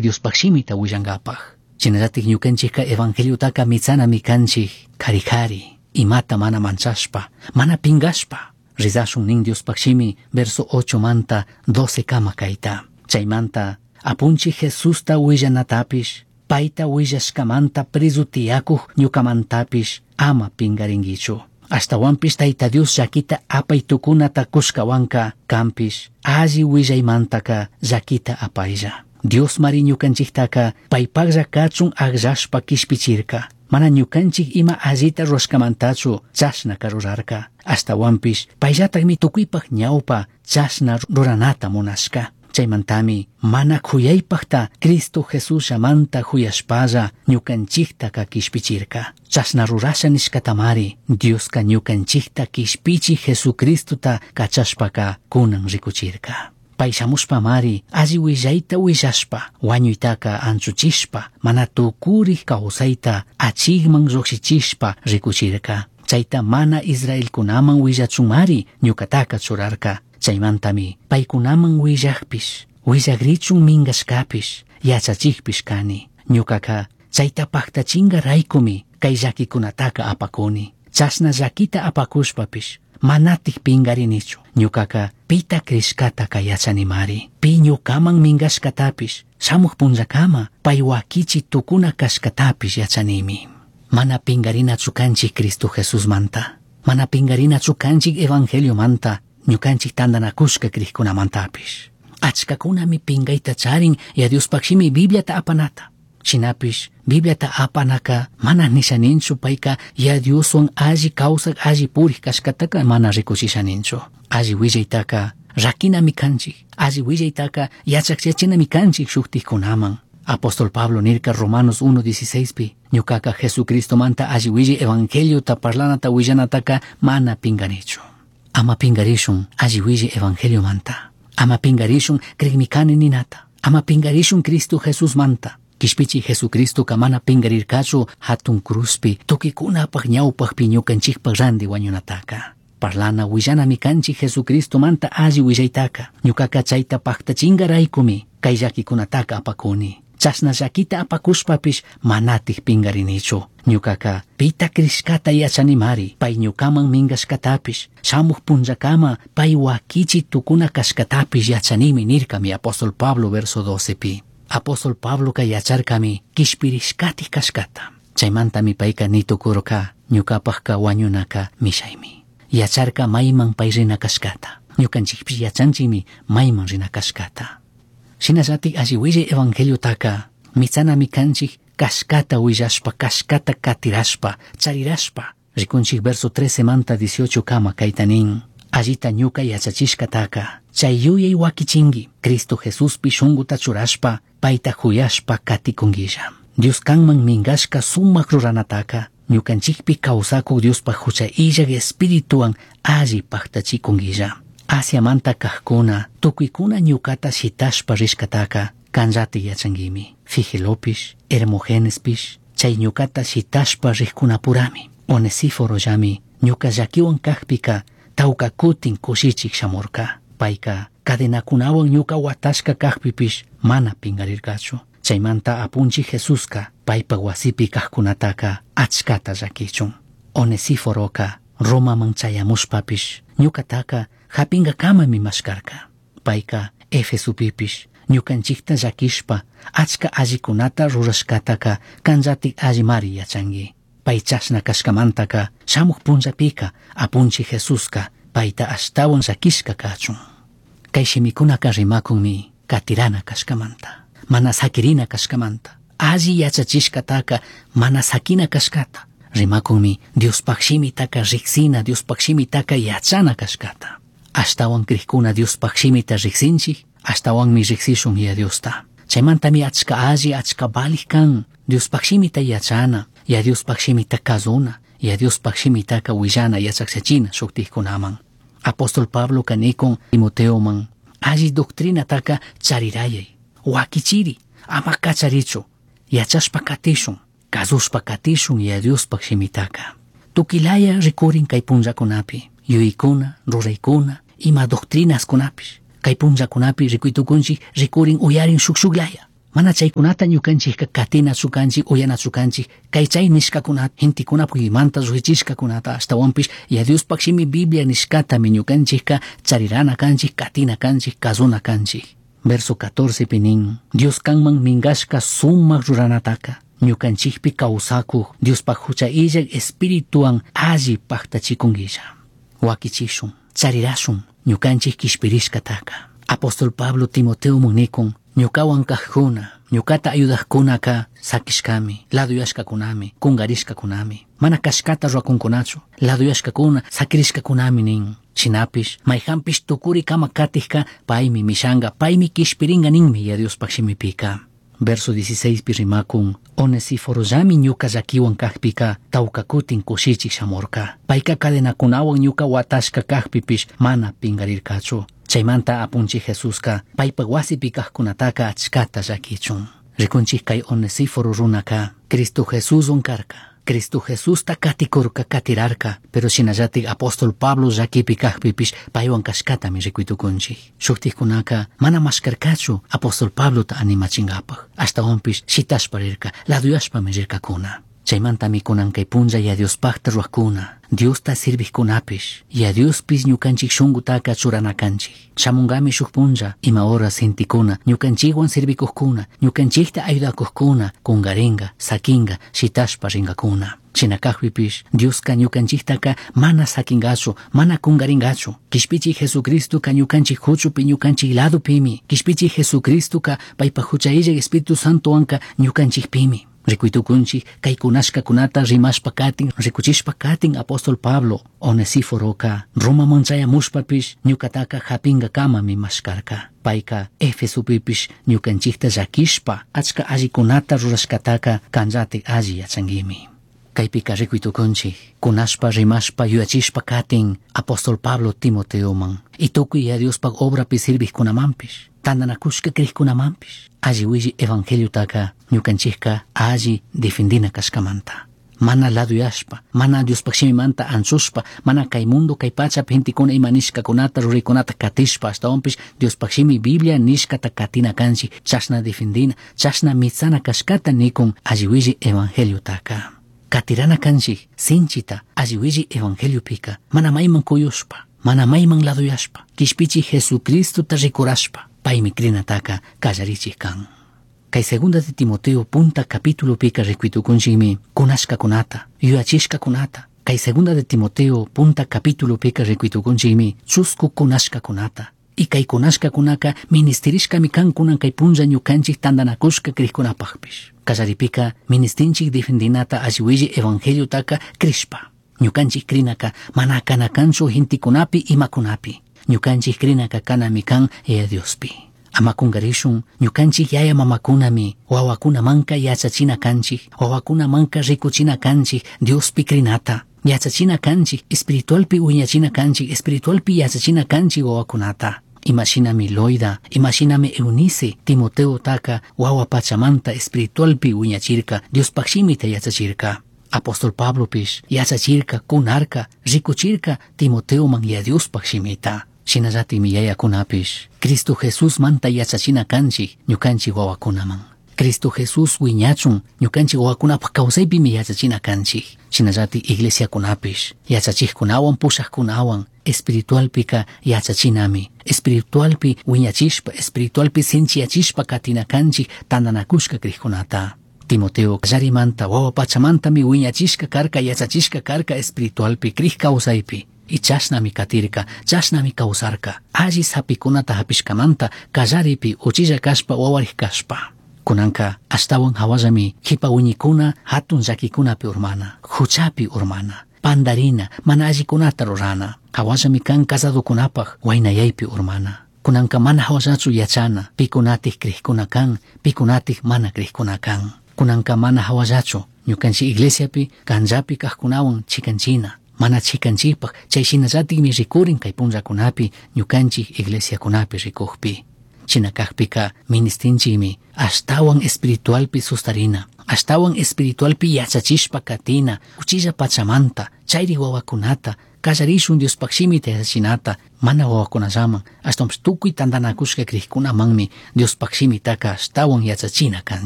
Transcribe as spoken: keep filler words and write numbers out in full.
Diospaj shimita huillangapaj. Shinallatik ñukanchikka evangeliotaka mitsanami kanchik kari kari, imata mana manchashpa, mana pingashpa. Rizashun nin Diospaj shimi verso ocho manta doce kama kayta. Chaymanta apunchik Jesusta huillanatapish, payta huillashkamanta prezu tiyakuj ñukamantapish ama pingaringuichu. Ashtawanpish Tayta Dios llaquita apay tukunata kushkawanka kanpish alli willaymantaka llaquita apaylla. Dios mari ñukanchiktaka paypaklla kachun akllashpa kishpichirka. Mana ñukanchik ima allita rurashkamantachu chashnaka rurarka. Ashtawanpish payllatakmi tukuypak ñawpa chashna ruranata munashka. Chaymantami mana kuyaypakta Cristo Jesusllamanta kuyashpalla ñukanchiktaka kishpichirka. Chashna rurasha nishkatamari Dioska ñukanchikta kishpichi Jesucristota kachashpaka kunan rikuchirka. Pay shamushpamari alli willayta willashpa wañuytaka anchuchishpa mana tukurik kawsayta achikman llukshichishpa rikuchirka. Chayta mana Israelkunaman willachunmari ñukataka churarka. Chaymantami paykunaman willakpish, willakrichun minkashkapish, yachachikpish kani. Ñukaka chayta paktachinka raykumi kay llakikunataka apakuni. Chashna llakita apakushpapish manatik pingarinichu. Ñukaka pita crishkataka yachanimari. Pi ñukaman minkashkatapish shamuj punllakama pay wakichi tukuna kashkatapish yachanimi. Mana pingarinachu kanchik Cristo Jesusmanta. Mana pingarinachu kanchik Evangeliomanta. Ñukanchik tantanakushka krikkunamantapish. Achkakunami pingayta charin ya Diospaj shimi Bibliata apanata. Shinapish Bibliata apanaka mana nishaninchu payka ya Dioswan alli kawsak alli purik kashkataka mana rikuchishaninchu. Alli willaytaka rakinami kanchik. Alli willaytaka yachakchachinami kanchik shuktikkunaman. Apóstol Pablo nirka Romanos uno dieciséis pi, ñukaka Jesucristomanta alli willay evangeliota parlanata willanataka mana pinganichu. Ama pingarishun alli willay evangeliomanta. Ama pingarishun krikmikani ninata. Ama pingarishun Cristo Jesusmanta. Kishpichi Jesucristo mana pingarirkachu hatun cruzpi tukikunapaj ñawpajpi ñukanchikpaj randi wañunataka. Parlana willanami kanchik Jesucristomanta alli willaytaka. Ñukaka chayta paktachingaraykumi kay llakikunataka apakuni. Chashna llakita apakushpapish manatik pingarinichu. Ñukaka pita krishkata yachanimari, pay ñukaman minkashkatapish, shamuj punllakama pay wakichi tukuna kashkatapish yachanimi nirkami apóstol Pablo verso doce pi. Apóstol Pabloka yacharkami kishpirishkatik kashkata. Chaymantami payka nitukurka ñukapajka wañunaka mishaymi. Yacharka mayman pay rina kashkata. Ñukanchikpish yachanchikmi mayman rina kashkata. Shinallatik alli willay evangeliotaka mitsanami kanchik kashkata willashpa, kashkata katirashpa, charirashpa. Rikunchik verso trece manta dieciocho kama kayta nin. Allita ñuka yachachishkataka chay yuyay wakichinki Cristo Jesuspi shunguta churashpa payta huyashpa katikunguilla. Dios kanman minkashka sumak ruranataka ñukanchikpi kawsakuk Diospaj hucha illak espirituwan alli paktachikunguilla. Asiamanta kajkuna tukuykuna ñukata shitashpa rishkataka kanllati yachanguimi. Figelopish, Hermogenespish, chay ñukata shitashpa rikkunapurami. Onesíforollami ñuka llakiwan kajpika tawka kutin kushichik shamurka. Payka cadenakunawan ñuka watashka kajpipish mana pingarirkachu. Chaymanta apunchik Jesuska paypa wasipi kajkunataka achkata llakichun. Onesíforoka Romaman chayamushpapish ñukataka japinkakamami mashkarka. Payka Efesopipish ñukanchikta llakishpa achka allikunata rurashkataka kanllatik allimari yachanki. Pay chashna kashkamantaka shamuj punllapika apunchik Jesuska payta ashtawan llakishka kachun. Kay shimikunaka rimakunmi katirana kashkamanta, mana sakirina kashkamanta, alli yachachishkataka mana sakina kashkata. Rimakunmi Diospaj shimitaka riksina, Diospaj shimitaka yachana kashkata. Ashtawan krikuna Diospaj shimita riksinchik, ashtawanmi riksishun ya Diosta. Chaymantami achka alli, achka valij kan Diospaj shimita yachana, ya Diospaj shimita kazuna, ya Diospaj shimitaka willana yachakchachina shuktikkunaman. Apóstol Pablo kanikun Timoteoman, alli doctrinataka charirayay, wakichiri, ama kacharichu, yachashpa katishun, kazushpa katishun ya Diospaj shimitaka. Tukilaya rikurin kay punllakunapi, yuykuna, ruraykuna, ima doctrinaskunapish. Kay punllakunapi rikuytukunchik rikurin uyarin shuk shuklaya. Mana chaykunata ñukanchikka katinachu kanchik, uyanachu kanchik, kay chay nishkakunata, gentekuna puymanta lluqchichishkakunata, ashtawanpish Yaya Diospaj shimi Biblia nishkatami ñukanchikka charirana kanchik, katina kanchik, kazuna kanchik. Verso catorce pi nin, Dios kanman mingashka sumak ruranataka, ñukanchikpi kawsakuq Diospaj hucha illak espirituwan alli pajtachikunguilla. Wakichishun, charirashun, ñukanchik kishpirishkataka. Apóstol Pablo Timoteo nikun, ñukawan kajkuna, ñukata ayudajkunaka sakishkami, laduyashkakunami, kungarishkakunami. Mana kashkata ruwakunkunachu, laduyashkakuna, sakirishkakunami nin. Shinapish, mayjanpish tukuri kama katijka, paymi mishanga, paymi kishpiringa ninmi Yaya Diospaj shimipika. Verso dieciséis pi rimakun, Onesiforollami ñuka llakiwan kajpika, tawka kutin kushichik shamurka. Payka cadenakunawan ñuka watashka kajpipish mana pingarirkachu. Chaymanta apunchik Jesuska paypak wasipi kajkunataka achkata llakichun. Rikunchik kay Onesíforo runaka Cristo Jesuswan karka. Cristo Jesusta katikurka, katirarka, pero shinallatik apóstol Pablo llakipi kajpipish paywan kashkatami rikuytukunchik. Shuktikkunaka mana mashkarkachu apóstol Pablota animachinkapaj. Ashtawanpish shitashpa rirka, laduyashpami rirkakuna. Chaymantami kunan kay punlla Yaya Diospajta ruwajkuna, Diosta sirvijkunapish, Yaya Diospish ñukanchik shunkutaka churana kanchik. Shamungami shuk punlla ima horas gentekuna, ñukanchikwan sirvikujkuna, ñukanchikta ayudakujkuna, kungaringa, sakinga, shitashpa ringakuna. Shina kajpipish Dioska ñukanchiktaka mana sakingachu, mana kungaringachu. Kishpichi Jesucristoka ñukanchik huchupi, ñukanchik ladupimi. Kishpichi Jesucristoka paypaj hucha illak Espíritu Santowanka ñukanchikpimi. Rikuytukunchik kay kunashkakunata rimashpa katin, rikuchishpa katin apóstol Pablo Onesíforoka Romaman chayamushpapish ñukataka japinkakamami mashkarka. Payka Efesopipish ñukanchikta llakishpa achka allikunata rurashkataka kanllatik alli yachanguimi. Kaypika rikuytukunchik kunashpa rimashpa yuyachishpa katin apóstol Pablo Timoteoman y tukuy Yaya Diospaj obrapi sirvijkunamanpish, tantanakushka krikkunamanpish alli willi evangeliotaka ñukanchikka alli defendina kashkamanta. Mana laduyashpa, mana Diospaj shimimanta anchushpa, mana kay mundo kay pachapi gentekuna ima nishkakunata ruraykunata katishpa, ashtawanpish Diospaj shimi Biblia nishkata katina kanchik, chashna defendina, chashna mitsana kashkata nikun alli willi evangeliotaka. Katirana kanchik sinchita alli willi evangeliopika, mana mayman kuyushpa, mana mayman laduyashpa, kishpichi Jesucristota rikurashpa, paymi krinataka kallarichik kan. Kay segunda de Timoteo punta capítulo pika rikuytukunchikmi kunashkakunata, yuyachishkakunata. Kay segunda de Timoteo punta capítulo pika rikuytukunchikmi chusku kunashkakunata. Y kay kunashkakunaka ministerishkami kan kunan kay punlla ñukanchik tantanakushka krikkunapajpish. Kallaripika ministinchik defendinata alli willi evangeliotaka krishpa. Ñukanchik krinaka mana kana kanchu gentekunapi imakunapi. Ñukanchik krinaka kanami kan Yaya Diospi. Ama kungarishun ñukanchik yaya mamakunami wawakunamanka yachachina kanchik, wawakunamanka rikuchina kanchik Diospi krinata. Yachachina kanchik, espiritualpi wiñachina kanchik, espiritualpi yachachina kanchik wawakunata. Imashinami Loida, imashinami Eunice, Timoteo taka wawa pachamanta espiritualpi wiñachirka, Diospaj shimita yachachirka. Apóstol Pablo pish yachachirka, kunarka, rikuchirka Timoteoman ya Diospaj shimita. Shinallatikmi yayakunapish Cristo Jesús manta yachachina kanchik ñukanchik wawakunaman. Cristo Jesús wiñachun ñukanchik wawakunapaj kawsaypimi yachachina kanchik. Shinallatik iglesiakunapish yachachikkunawan pushakkunawan espiritualpika yachachinami. Espiritualpi wiñachishpa, espiritualpi sinchiyachishpa katina kanchik tantanakushka krikkunata. Timoteo kallarimanta wawa pachamantami wiñachishka karka, yachachishka karka espiritualpi krik kawsaypi. Y chashnami katirka, chashnami kawsarka. Alli sapikunata hapishkamanta kallaripi uchilla kashpa wawarik kashpa. Kunanka ashtawan hawallami kipa wiñikuna hatun llakikunapi urmana, huchapi urmana, pandarina, mana allikunata rurana. Hawallami kan casadokunapaj waynayaypi urmana. Kunanka mana hawallachu yachana, pikunatik krikuna kan, pikunatik mana krikuna kan. Kunanka mana hawallachu ñukanchik iglesiapi kanllapi kajkunawan chikanchina. Mana chikanchikpaj chay shinallatikmi rikurin kay punllakunapi ñukanchik iglesiakunapi rikujpi. Shina kajpika ministinchikmi ashtawan espiritualpi sustarina, ashtawan espiritualpi yachachishpa katina, uchilla pachamanta Chayri wawakunata kallarishun Diospaj shimita yachachinata mana wawakunallaman ashtawanpish tukuy tantanakushka crikkunamanmi Diospaj shimitaka ashtawan yachachina kanchik.